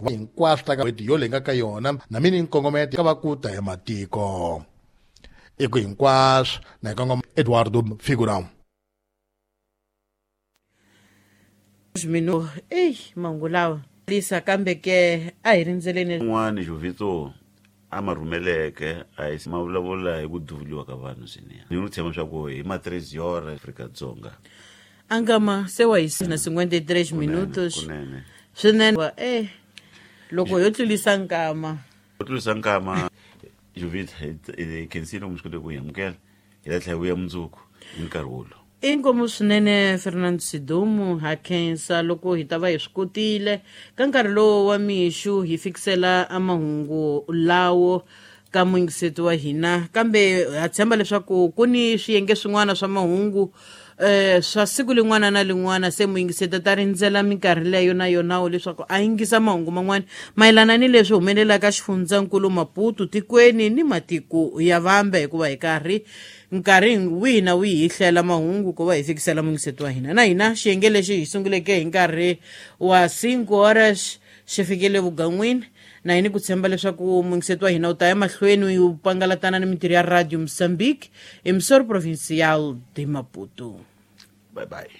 Hinkwaswo ta ka n'hweti yo leyi nga ka yona na mini nkongometo ka va ku ta ya matiko i ku hinkwaswo na hi kongoma Eduardo Figurão. Minu eyi mahungu lawa lisa kambe ke a hi rindzeleni. Un'wana Jovito a ma rhumeleke a hi ma vulavula hi ku duvuliwa ka vanhu swinene ni n'wi tshemba swa ku hi ma 3 yora Afrika-Dzonga. Angama se wa hi na 53 minutos. Kunene. Swinene wa loko yo tlulisa nkama. Ku tlulisa nkama, Jovita, hi khensile mi swi kote ku hi amukela, hi ta tlhela vuya mundzuku hi nkarhi wolowo. Inkomu swinene, Fernando Sidumu. Ha khensa loko hi ta va hi swi kotile ka nkarhi lowu wa mixu hi fikisela mahungu lawo ka muyingiseti wa hina, kambe ha tshemba leswaku ku ni swiyenge swin'wana swa mahungu swa siku lin'wana na lin'wana, se muyingiseti ta rindzela minkarhi leyo na yonawo leswaku a yingisa mahungu man'wana mayelana ni leswi humelelaka xifundzankulu Maputo, tikweni ni matiko ya vambe, hikuva hi karhi nkarhi wihi na wihi hi hlela mahungu ku va hi fikisela muyingiseti wa hina. Na hina xiyenge lexi hi sunguleke hi nkarhi wa 5 horas xi fikile vugan'wini, na hini ku tshemba leswaku muyingiseti wa hina u ta ya mahlweni wu pangalatana ni mintirho ya Radio Mozambique, Emissora Provincial de Maputo. Bye bye.